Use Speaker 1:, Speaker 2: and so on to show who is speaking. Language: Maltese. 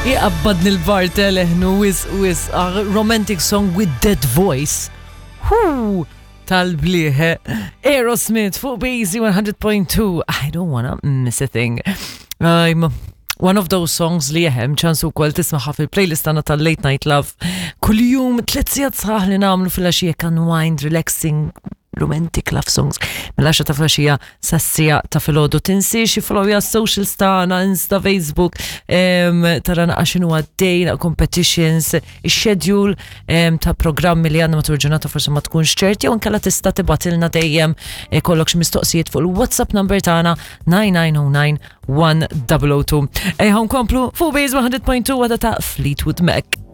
Speaker 1: Iqabbadni l-Bartel eħnu wis wis a romantic song with dead voice. Hu tal-blieħ. Aerosmith fuq Basie 100.2. I don't wanna miss a thing. I'm one of those songs li jehem ċans ukoll tismaħa fil-playlist tagħna tal-Late Night Love. Kuljum tliet sigħat sħaħ li nagħmlu fil-għaxija unwind, relaxing, romantic love songs mill-10 ta' filgħaxija sas-siegħa ta' filgħodu. Tinsiex iffollowja s-socials tagħna, Insta, Facebook, tara naqa' x'inhu għaddej, naqa' competitions, ix-schedule ta' programmi li għandna matul ġurnata forsi ma tkunx ċert jew inkella tista' tibgħatilna dejjem ikollok xi mistoqsijiet fuq il-WhatsApp number tagħna 9909 1002. Ejja nkomplu fuq Base 100.2 għada ta' Fleetwood Mac.